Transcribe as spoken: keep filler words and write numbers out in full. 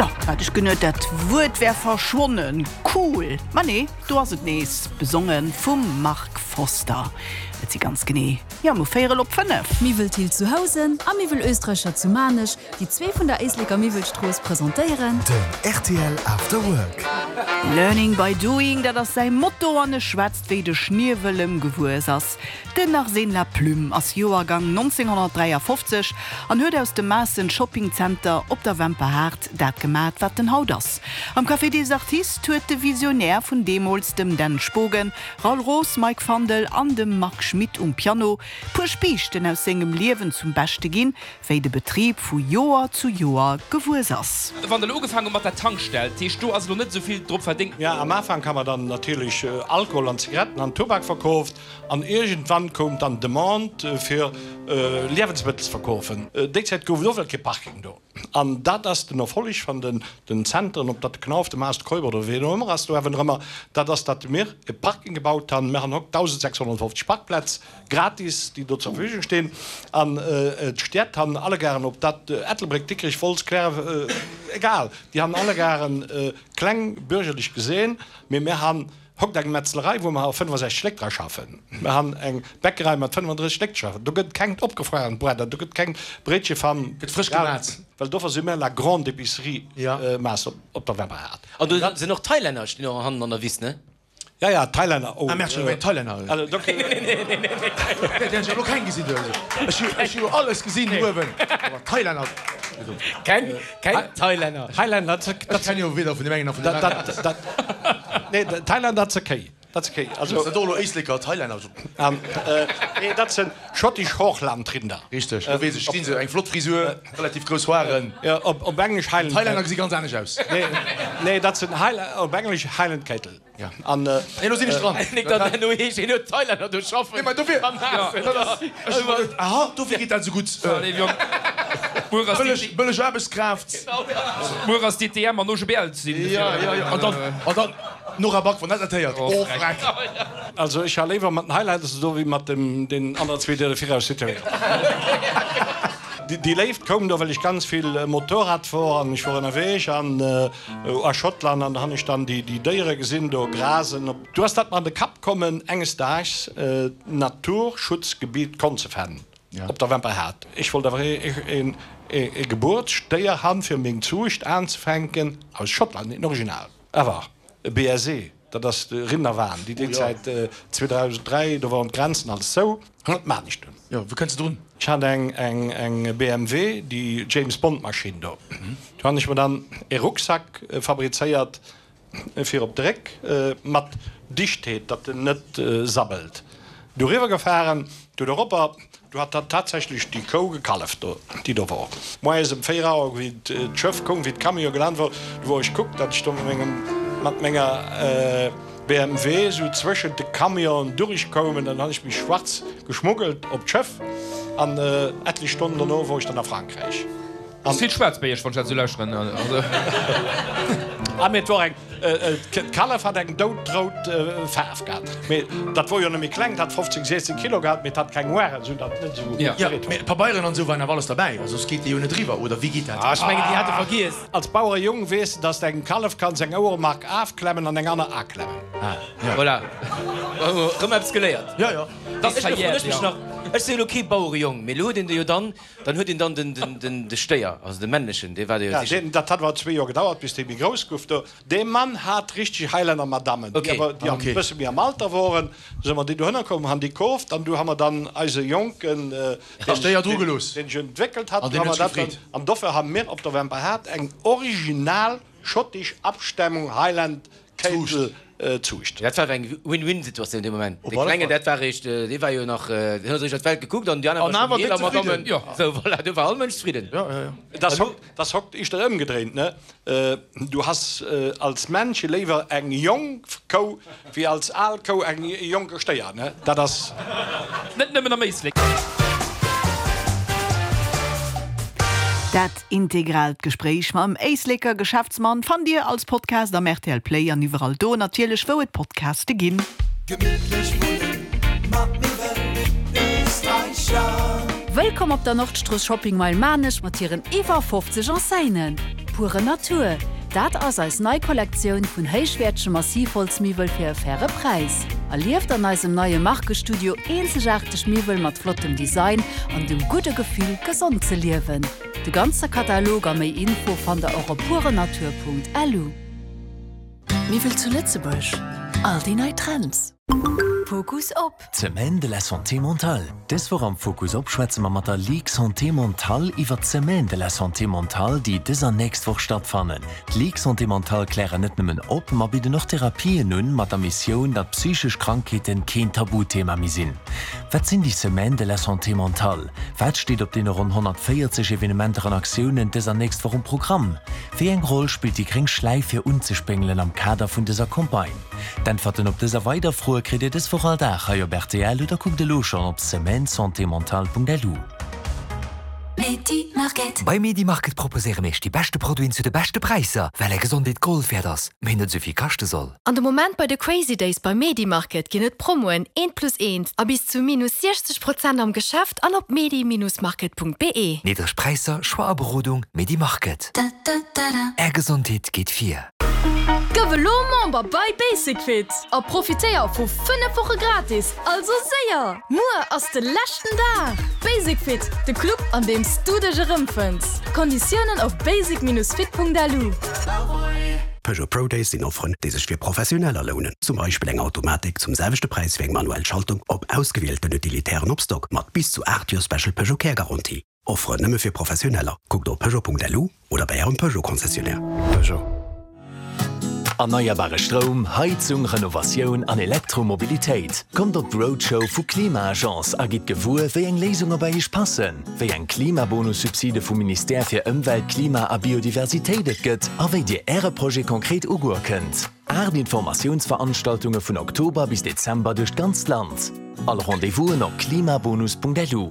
Do hat ech genuet, dat Wuert wär verschwonnen. Cool! Ma nee, do ass et nees, besonge vum Mark Foster. Et si ganz genee, jo, mo véierel op fënnef. Miwwel Thill zu Housen a Miwwel Österreicher zu Maarnech, déi zwee vun der Éisleker Miwwelstrooss, presentéieren. Den rtl After Work. Learning by doing, dat ass säi Motto an e schwätzt wéi de Schniewel ëm gewuess ass. Den Arsène Laplume ass Joergang nonzénghonnertdräiafofzeg an huet aus dem Maassen Shopping Center op der Wemperhaart dat gemat wat en haut ass. Am Café des Artistes huet de Visionär vun deemools dem Dan Spogen, Raoul Roos, Mike Fandel an dem Marc Schmitt um Piano puer Spiichten aus sengem Liewen zum Beschte ginn, wéi de Betrib vu Joer zu Joer gewuess ass. Wann der elo ugefaangen hutt mat der Tankstell, dat heescht do ass elo net esou vill drop verdéngt. Jo, am Afank ha mer dann natierlech Alkohol an Zigaretten an Tubak verkooft an iergendwann koum dann d'Demande fir Liewensmëttel ze verkoofen. Déi Zäit gouf et och well kee Parking do an dat ass den Erfolleg van den den Zentren, ob dat de Knauf, de Maas, de Keuper oder ween och ëmmer ass do awer ëmmer, dat ass datt mir e Parking gebaut han. Mir han hokt dausendsächshonnertfofzeg Parkplätz gratis, déi do zur Verfügung stinn an d'Stied han allegaren, ob dat Ettelbréck, Dikrich, Wolz, Klärref, egal, déi han allegaren kleng bürgerlech gesehen, mee mir han hokt eng Metzlerei, wou mer fënnefasechzeg Léck dra schaffen. Mir han eng Bäckerei mat fënnefandrësseg Léck schaffen. Do gëtt kengt opgefruerent Bredder, do gëtt keng Bréitche van. Gëtt frësch gemat. Well dofir si mir la grande épicerie Maas op der Wemperhaart. An do sinn och Thailänner, stinn och hannen an der Wiss, ne? Ja, ja, Thailänner, oh. Ah, merci, ech mengen Thailänner. Also, do. Nee, nee, nee, nee, nee. Déi hunn ech elo keng gesinn do. Ech hu, ech hu jo alles gesinn uewen, awer Thailänner. Keng, keng Thailänner. Thailänner, dat, dat. Ech kenne jo weder vun deem engen nach vun deem aneren. Dat, dat, nee, Thailänner, dat se Kéi. Dat se Kéi. Also. Ass dat och elo Éisleker, Thailänner? An, nee, dat sinn schottisch Hochlandrinder. Richteg, do weess ech, stinn se, eng flott Frisur, relativ grouss Hoaren. Jo, op, op Englesch Highland. Thailänner gesi ganz anescht aus. Nee, nee, dat sinn Highland, op Englesch Highland Cattle. Ja. An, Nee, lo sinn ech dran. Nik datt herno heescht, hien huet Thailänner do schaffen. Nee, mä dofir, dat ass, ech hu geduet, aha, dofir geet dat esou gutt. Bëlleg, bëlleg Aarbechtskraaft. Muer ass D T M an O G B L sinn. Ja, ja, ja. An dann, an dann Nora Back, wann dat dat héiert, oh freck. Also ech ha léiwer mat den Highlighters do wéi mat dem deen anere zwee déi der viraus zitieren. Déi Léift koum do well ech ganz vill Motorrad wor an ech wor ënnerweeg an a Schottland an da han ech dann déi déi Déiere gesinn do grasen. Du ass dat mer an de Kapp kommen enges Daags d'Naturschutzgebiet Konzefen op der Wemperhaart. Ech wollt awer een e Gebuertsdéier han fir meng Zuucht aanzefänken aus Schottland, een Original awer e B S E, dat ass de Rinderwahn, déi déi Zäit zweedausenddräi, do woren d'Grenzen alles zou, dat maan ech dunn. Jo, wou kënns de drun? Ech hat eng eng eng B M W, déi James Bond Maschinn do, do han ech mer dann e Rucksack fabrizéiert fir op de Réck mat Dichtheet, datt en net sabbelt. Du riwwer gefahren, du doropper, du hat dann tatsächlech déi Kou gekalleft do, déi do wor. Moies ëm véier Auer, wéi d'Schëff koum, wéi d'Camion gelant wor, du wor ech kuckt, datt ech do mat mengem, mat menger B M W esou zwëschent de Camionen durchkoum, an dann han ech mech schwarz geschmuggelt op d'Schëff, an etlech Stonnen dono wor ech dann a Frankräich. Ass vill schwaarz bei iech, wann ech dat esou lauschteren. Ah, mee et wor eng, d'Kallef hat eng doudrout Faarf gehat. Mee dat wor jo net méi kleng, dat hat fofzéng, siechzéng Kilo gehat, mee et hat keng Hoaren, esou datt et net esou Jo, gereet mee huet. Pabeieren an esou waren awer alles derbäi, also soss geet dee jo net eriwwer, oder wéi geet dat? Ah, ech mengen, déi hate vergiess. Als Bauerejong weess de, dass de engem Kallef kanns eng Ouermark afklemmen an eng aner aklemmen. Ah, jo. Voilà, erëm eppes geléiert. Jo, jo. Dat ass verjährt, jo. Ech si jo elo kee Bauerejong, mee elo huet een de jo dann. Dann huet een dann den de Stéier, also de männlechen, dee war de jo Ja, sichen. deen, dat hat awer zwee Joer gedauert, bis dee méi grouss gouf do. Dee Mann hat richteg Highlander Madammen, déi awer, déi e bësse méi am Alter woren. Du si mer déi dohënner komm, han déi kooft an du ha mer dann eise Jonken, deen Stéier dru gelooss. deen sech entwéckelt hat, An du deen ha huet mer sech dat dann, gefreet. an dofir ha mir op der Wemperhaart eng original schottisch Abstämmung Highland Cattle Zuucht. Dat war eng Win-Win-Situatioun dee Moment. Op Dee alle Klengen, Fall. dat war eréischt, dee war jo nach, deen huet eréischt an d'Welt gekuckt an déi aner An war awer schonn déck eeler zefridden. Madammen. Sou, voilà, do war all Mënsch zefridden. Ja, ja, ja. Et ass hokt, et ass hokt ischter ëmgedréint, ne? Du has als Männche léiwer eng jonk Kou wéi als al Kou eng jonke Stéier, ne? Dat ass. Net nëmmen am Éislek. Dat integraalt Gespréich mam Éisleker Geschäftsmann fannt Dir als Podcast am R T L Play an iwwerall do natierlech wou et Podcaste ginn. Gemittlech wunnen mat Miwwel Österreicher. Wëllkomm op der Nordstrooss Shopping Mile Maarnech mat hiren iwwer fofzeg Enseignen. Pure Natur, dat ass eis nei Kollektioun vun héichwäertege Massivholzmiwwel fir e faire Präis. Erlieft an eisem neie Markestudio eenzegaarteg Miwwel mat flottem Design an dem gudde Gefill, gesond ze liewen. De ganze Katalog a méi Info fannt der och op purenatur.lu. Miwwel zu Lëtzebuerg, all déi nei Trends. Fokus op. D'Semaine de la Santé mentale. Dës Woch am Fokus op schwätze mer mat der Ligue Santé Mentale iwwer d'Semaine de la Santé mentale, déi dës an nächst Woch stattfannen. D'Ligue Santé Mentale klären net nëmmen op, ma bidden och Therapien un, mat der Missioun, datt psychesch Krankheeten keen Tabuthema méi sinn. Wat sinn déi Semaines de la Santé mentale? Wat steet op deene ronn honnertvéierzeg Evenementer an Aktiounen dës an nächst Woch um Programm? Wéi eng Roll spillt déi gréng Schläif fir unzespéngelen am Kader vun dëser Campagne? D'Äntwerten op dës a weider Froe kritt Dir dës Woch all Dag hei op rtl oder kuckt elo schonn op semaine-santé-mentale.lu. Bei Medimarket proposéiere mir iech déi beschte Produiten zu de beschte Präisser, well är Gesondheet Gold wäert ass, mee net esou vill kaschte soll. An de Moment bei de Crazy Days bei Medimarket ginn et Promoen eent plus eent a bis zu minus siechzeg Prozent am Geschäft an op medi-market.be. Niddreg Präisser, Choix a Berodung, Medimarket. Är Gesondheet geet vir. Gëff elo Member bei Basic-Fit a profitéier vu fënnef Woche gratis! Also séier, muer ass de leschten Dag! Basic-Fit, de Club an deem s du dech erëmfënns. Konditiounen op basic-fit.lu. Peugeot Pro Days sinn Offeren, déi sech fir Professioneller lounen. Zum Beispill eng Automatik zum selwechte Präis wéi eng manuell Schaltung op ausgewielten Utilitären op Stock mat bis zu aacht Joer Special Peugeot Care Garantie. Offeren nëmme fir Professioneller. Kuckt op Peugeot.lu oder bei Ärem Peugeot Concessionnaire. Peugeot. Erneierbare Stroum, Heizung, Renovatioun an Elektromobilitéit. Kommt op d'Roadshow vu Klima-Agence a gitt gewuer, wéi eng Léisunge bei Iech passen, wéi eng Klimabonussubside vum Ministère fir Ëmwelt, Klima a Biodiversitéit et gëtt a wéi Dir Äre Projet konkret ugoe kënnt. Aacht Informatiounsveranstaltunge vun Oktober bis Dezember duerch d'ganzt Land. All Rendez-vousen op klimabonus.lu.